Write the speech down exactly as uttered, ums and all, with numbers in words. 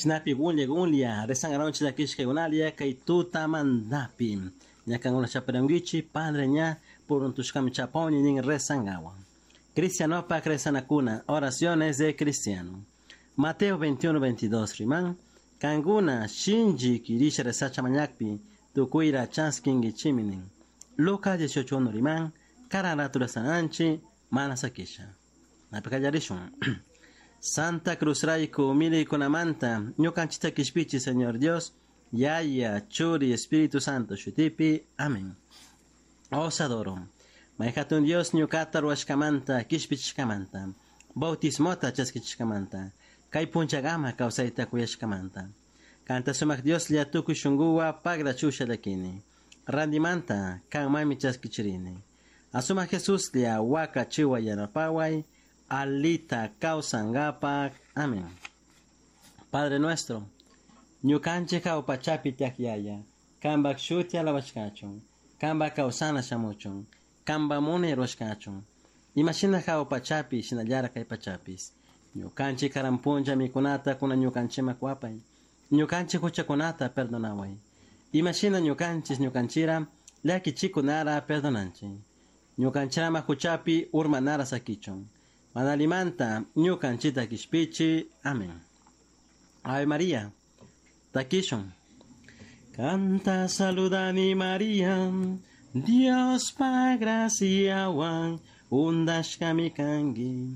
Chinapi gunlla gunlla rezangaronchi llakishkaykunalia kay tutamantapi. Ña kankuna chaparankichi padre ña puruntushkami chapawni nin rezangawan. Cristianopak rezanakuna, oraciones de cristiano. Mateo veintiuno veintidós riman, kankuna shinchi kirisha rezacha mañakpi, tukuyra chaskinkichimi nin. Lucas dieciocho uno riman, kararatu rezananchi, mana sakisha. Napi kallarishun. Santa Cruz rayku miliykunamanta, ñukanchita kishpichi, Señor Dios, Yaya, Churi, Espíritu Santo, shutipi. Amén. Os adoro. Mayhatun Dios ñukata ruwashkamanta, kishpichishkamanta, bautismota chaskichishkamanta, kay punchagama kawsayta kuyashkamanta. Kanta sumak Dios lla tukuy shunkuwa pagra chusha llakini. Randimanta kanmami chaskichirini. Asuma Jesús lla waka chiwa yanapaway, alita kawsangapak. Amén. Padre nuestro, ñukanchik hawpachapi tiyak yaya, kanpak shuti alabashkachun, kanpak kawsana shamuchun, kanpak munay ruwashkachun, imashina hawpachapi shinallara kay pachapis. Ñukanchik karan punlla mikunata kuna ñukanchikman kuwapay, ñukanchik huchakunata perdonaway, imashina ñukanchik ñukanchira llakichikunara perdonanchik. Ñukanchirama huchapi urmanara sakichun, manalimanta ñukanchita kishpichi. Amén. Ave María, takishun. Canta saludani María, Dios pa graciawan, undashkami kanki.